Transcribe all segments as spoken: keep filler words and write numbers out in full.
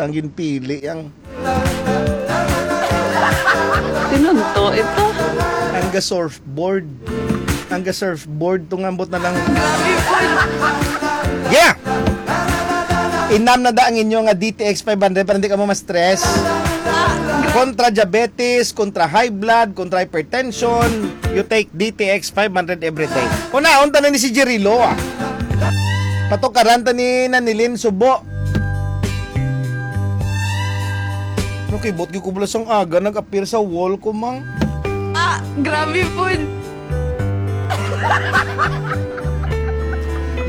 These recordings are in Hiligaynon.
Ang ginpili ang Pinunto ito. Ang ga surfboard. Ang ga surfboard, tungambot na lang. Yeah! Inam na da ang inyo nga D T X five hundred para hindi ka mo ma-stress. Kontra diabetes, kontra high blood, kontra hypertension, you take D T X five hundred every day. Una, unta na ni si Jerry Lo, ah. Patukaran ta ni Nanilin Subo. Nakibot gyud ko bala sang aga, nag-appear sa wall ko, mang. Ah, grabe po.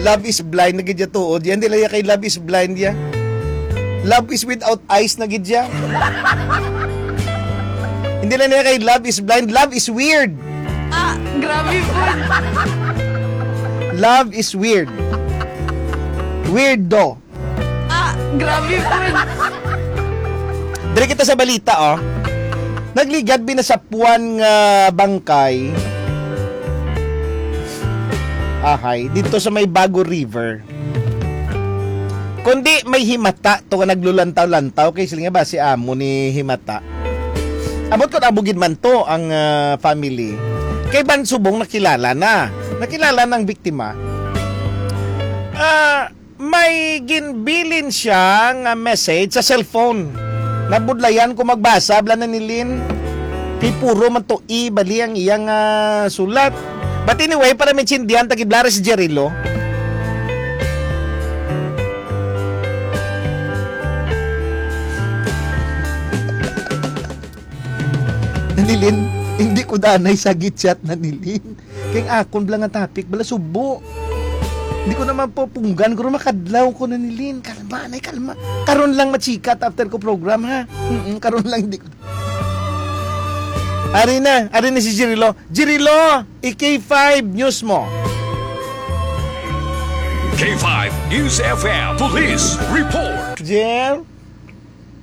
Love is blind na gid ya tuod. Yan, dili ya kay love is blind ya. Love is without eyes na gid ya. Hindi na niya kay love is blind. Love is weird. Ah, grabe po. Love is weird. Weirdo. Ah, grabe po. Diri kita sa balita, oh. Nagligad binasapuan nga bangkay. Ahay, dito sa may Bago River. Kundi may himata to nga naglulantaw-lantaw kay sila nga ba si amo ni himata. Abot ko, amo gid man to ang, ah, family. Kay ban subong nakilala na. Nakilala na ang biktima. Ah, may ginbilin siya nga message sa cellphone. Nabudlayan ko magbasa, bala na ni Lynn. Kay puro man to i bali ang iyang, ah, sulat. But anyway, para maintindihan, tagiblara si Jerry Lo. Nanilin, hindi ko danay sa gichat, Nanilin. Kay akon bala nga topic, bala subo. Hindi ko naman po punggan, kung makadlaw ko, Nanilin. Kalma, nay, kalma. Karon lang machikat after ko program, ha? Mm, karon lang, hindi ko. Ari na, ari na si Jirilo. Jirilo, i-K five news mo. K five News F M Police Report. Jer?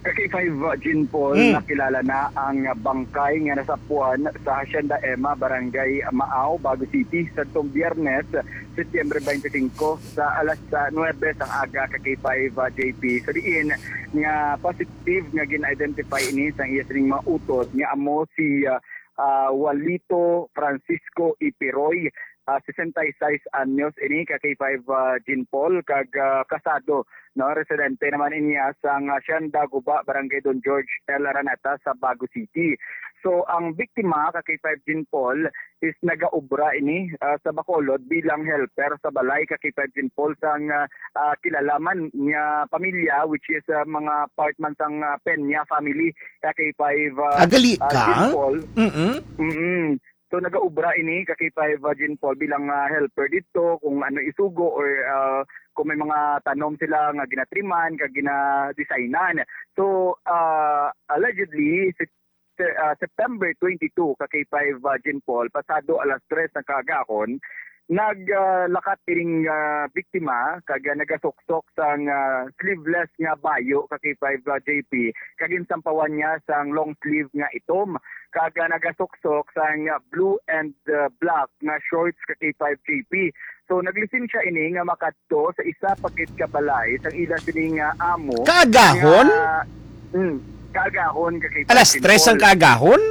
Ka K five, uh, Jean Paul, Hmm. Nakilala na ang bangkay nga nasapuan sa Hacienda Emma, Barangay Maaw, Bago City, sa tong Biyernes, Setyembre twenty-five, sa alas, uh, nuwebe sang aga, ka K five, uh, J P. Sa diin nga positive nga gin-identify ini sa iya sining mga utod nga amo si, uh, uh, Walito Francisco Ipiroy, uh, sesenta y seis anyos ini, ka K five, uh, Jean Paul, kag, uh, kasado, no, residente naman niya sang, uh, Hacienda Guba, Barangay Don George L. Araneta sa Bago City. So, ang biktima, ka K five Jean Paul, is nagaobra ini, uh, sa Bacolod bilang helper sa balay, ka K five Jean Paul, sang, uh, uh, kilala man nga pamilya, which is, uh, mga part man sang, uh, Peña family, ka K five, uh, Agali uh, ka? Jean Paul. Mm-mm. Mm-mm. So, nagaobra ini, ka K five, uh, Jean Paul, bilang, uh, helper dito, kung ano isugo or, uh, kung may mga tanom sila nga ginatriman, kag ginadesignan. So, uh, allegedly, si, si, uh, September twenty-two, ka K five, uh, Jean Paul, pasado alas tres ng kaagahon, naglakat ining, ah, biktima kag, ah, nagasuksok sang, ah, sleeveless nga bayo, ka K five, ah, J P, kag ginsampawan niya sang long sleeve nga itom, kag, ah, nagasuksok sang, ah, blue and, ah, black nga shorts, ka K five, J P. So, naglisensya ini nga makadto sa isa pa gid ka balay sang ila sini nga amo. Kaagahon? Nga, mm, kaagahon, ka K five, Alas tres ang Paul. Kaagahon?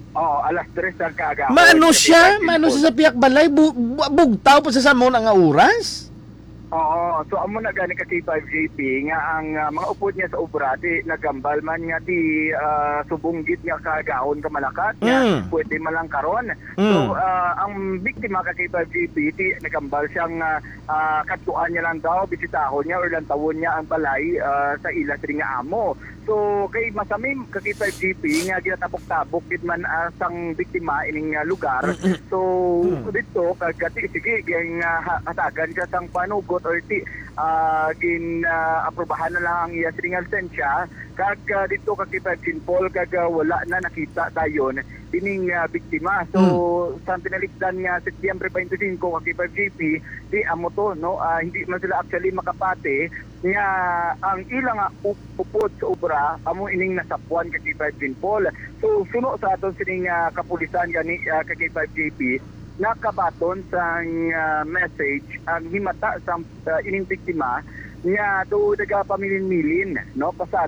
Oo, alas tres ang kaagahon. Maano Kasi siya? five Maano people. Siya sa piyak balay? Bu- bu- bugtaw pa sa samon ang oras? Oo, so amo na gani, ka K five, J P, nga ang, ah, mga upod niya sa obra, ti nagambal man nga ti, ah, subong gid nga kaagahon ka malakat, nga Mm. pwede man lang karon. Mm. So, ah, ang biktima, ka K five, J P, ti nagambal siyang, ah, ah, kadtuan niya lang daw, bisitahon niya or lantawon niya ang balay, ah, sa ila sini nga amo. So, kay masamim, ka K five, J P, nga ginatabok-tabok gid man, ah, sang biktima ining, ah, lugar. So, Mm. dito, kag ti, sige, gin, ah, ha- hatagan siya sang panugot or ti, ah, gin, ah, aprobahan na lang ang iya sining lisensya. Kag, ah, dito, ka K five, Jean Paul, kag, ah, wala na nakita dayon ining, ah, biktima. So, Mm. sa pinaligdan nga Setyembre twenty-five, ka K five, J P, di amo to, no? Ah, hindi man sila actually makapati nga ang ila nga up- upod sa obra amo ining nasapuan, ka K five, Jean Paul. So, suno sa aton sining, ah, kapulisan gani, ah, ka K five, J P, nakabaton sang, ah, message ang himata sang, ah, ining biktima Nga tuod nagapamilin-milin, no, pasad